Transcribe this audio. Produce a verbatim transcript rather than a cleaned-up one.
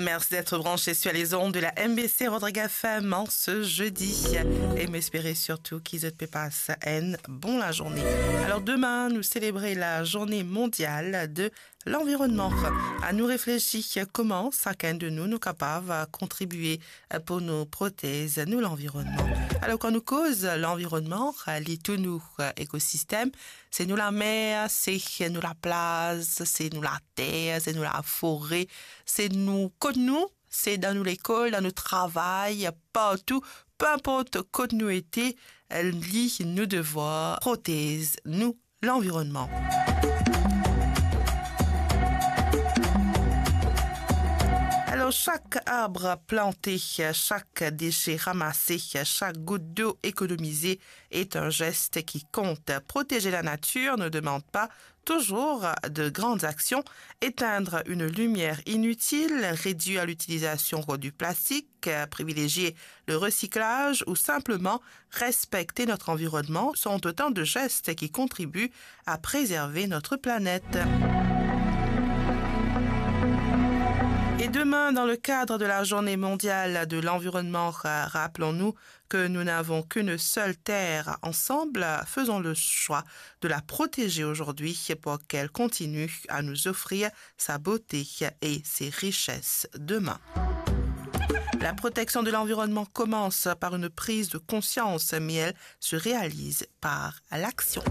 Merci d'être branché sur les ondes de la M B C Rodrigues F M en ce jeudi. E mo espere sirtou ki zot pe pas enn bon lazourne. Alor, demin, nou selebre la Journée mondiale de l'environnement. Anou reflesi kouma sakenn de nou, nou kapav kontribie pou nou protez nou lanvironnman. Alor, kan nou koz lanvironnman, li tou nou ekosistem, se nou lamer, se nou laplaz, se nou later, se nou lafore, se nou kot nou, se dan nou lekol, dan nou travay, partou, pe inport kot nou ete, li nou devwar protez nou lanvironnman. Alor, sak arb plante, sak dese ramase, sak gout dlo ekonomize est un geste qui compte. Protéger la nature ne demande pas toujours de grandes actions. Éteindre une lumière inutile, réduire l'utilisation du plastique, privilégier le recyclage ou simplement respecter notre environnement sont autant de gestes qui contribuent à préserver notre planète. Et demain, dans le cadre de la Journée mondiale de l'environnement, ra-, rappelons-nous que nous n'avons qu'une seule terre. Ensemble, faisons le choix de la protéger aujourd'hui pour qu'elle continue à nous offrir sa beauté et ses richesses demain. La protection de l'environnement commence par une prise de conscience, mais elle se réalise par l'action.